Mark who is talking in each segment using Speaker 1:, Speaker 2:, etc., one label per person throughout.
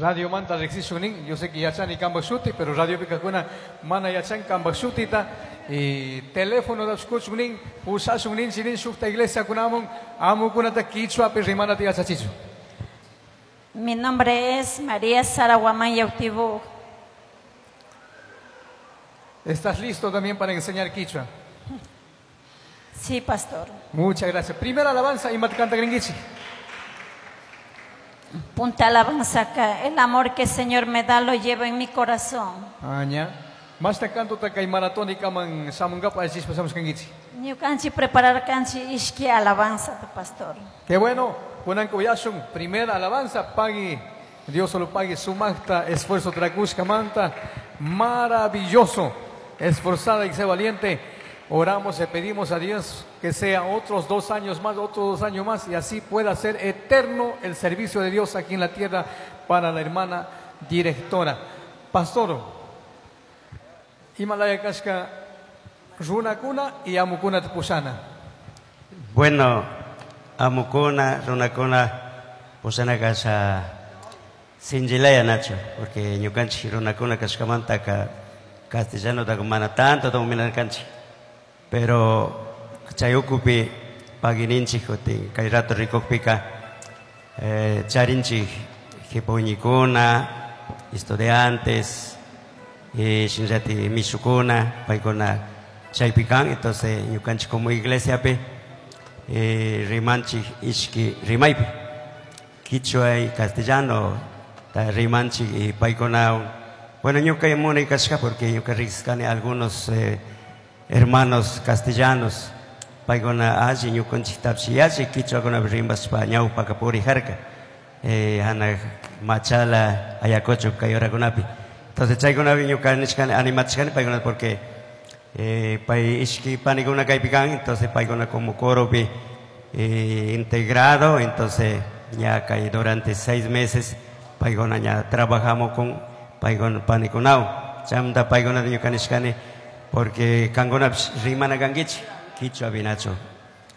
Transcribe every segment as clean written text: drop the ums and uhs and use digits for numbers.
Speaker 1: Radio manta riqsishun. Yo sé que yachani kambaq shuti, pero radio pikakuna mana yachan kambaq shutita. Y teléfono da shkuchun nin, pushashun nin, chinin shukta iglesia kunamun, amukunata kichwapi rimanata yachachichu.
Speaker 2: Mi nombre es María Sara Guamán Yautibú.
Speaker 1: ¿Estás listo también para enseñar quichua?
Speaker 2: Sí, pastor.
Speaker 1: Muchas gracias. Primera alabanza y canta gringuichi.
Speaker 2: Punta alabanza acá. El amor que el Señor me da lo llevo en mi corazón.
Speaker 1: Aña. Más te canto ta maratónica man samungapa así pasamos kangichi.
Speaker 2: Ñukanchi preparar kanchi ishki alabanza tu pastor.
Speaker 1: Qué bueno. Kunanko yashun primera alabanza pagui. Dios solo pague su magta esfuerzo tracushka manta. Maravilloso. Esforzada y sé valiente. Oramos y pedimos a Dios que sea otros 2 años más, otros 2 años más, y así pueda ser eterno el servicio de Dios aquí en la tierra para la hermana directora. Pastor, Himalaya Kashka, Runakuna y Amukuna Pusana.
Speaker 3: Bueno, Amukuna, Runakuna, Pusana Kasha, Sinjilaya Nacho, porque ñukanchi Runakuna Kashkamanta ka castellano da mana tanto dominar kanchi. Pero chayukupi pagininchi jotin kay rato rikukpika charinchi jipuñikuna estudiantes shinllati mishukuna paykuna chaypikan. Entonces ñukanchik como iglesia pe rimanchik ishki rimaypi quichua y castellano ta rimanchik y paykuna. Bueno, ñuka munay kashka porque ñuka riqsishkani algunos hermanos castellanos paykuna alli ñukanchiktapis yalli quichuakunapi rimashpa ñawpaka purijarka hanaq Machala Ayacucho kay horakunapi. Entonces chaykunapi ñuka nishkani animachishkani paykuna porque pay ishki panikuna kaypi kan. Entonces paykuna como coropi integrado. Entonces ya kay durante 6 meses paykuna ya trabajamos con paykuna panikunawan chaymanta paykunata ñuka nishkani porque kankunapish rimana kankichik quichua vinacho.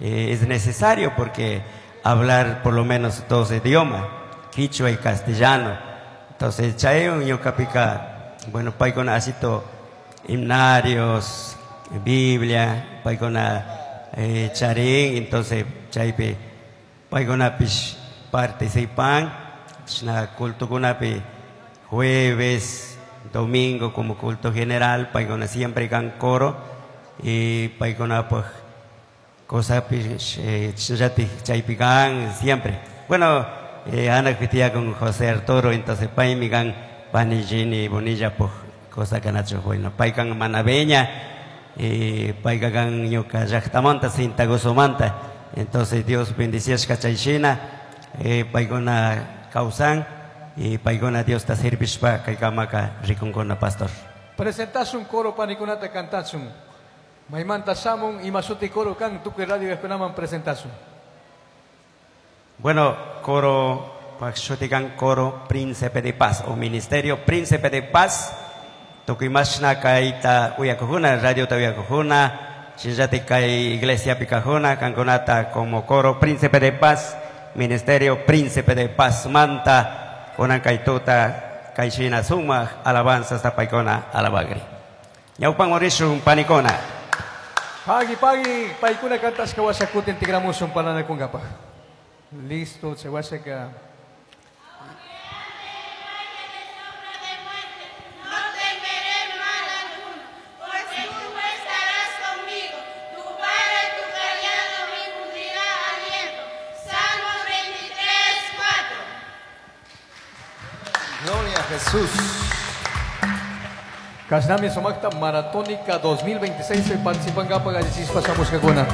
Speaker 3: Es necesario porque hablar por lo menos 2 idiomas, quichua y castellano. Entonces chaywan ñuqapika, bueno, paykuna asito himnarios, Biblia, paykuna charin. Entonces chaypi paykunapish participan chashna cultokunapi jueves, domingo como culto general, paykuna siempre kan coro y paykuna pues cosapish chashnallatik chaypi kan siempre. Bueno, Ana pitía con José Arturo, entonces paymi kan Panillini Bonilla pues cosa kanachu. Bueno, paykan manabeña y payka kan ñuka llaqtamanta Sintagosomanta. Entonces Dios bendiciashka chayshina paykuna kawsan y paykuna Dios ta servishpa kaykamaka rikunkuna, pastor.
Speaker 1: Presentasun coro panikunata cantasun. Maymanta shamun imasuti coro kan tukuy radio eskunaman presentasun.
Speaker 3: Bueno, coro pakshuti kan coro Príncipe de Paz o Ministerio Príncipe de Paz. Tukuy mashna kayta uyakujuna, radio ta uyakujuna, shillati kay iglesia pikajuna, kankunata como coro Príncipe de Paz, Ministerio Príncipe de Paz manta kunan kaytuta kayshina sumaq alabanzas tapaykuna alabagri. Ñawpan morishun panikuna.
Speaker 1: Pagi pagi paykuna kantashka washakutin tigramushun paranakunkapaq. Listo, se washaka.
Speaker 4: Jesús.
Speaker 1: Kashnami Sumakta Maratónica 2026 participan gapa gallichis pasamos kakuna.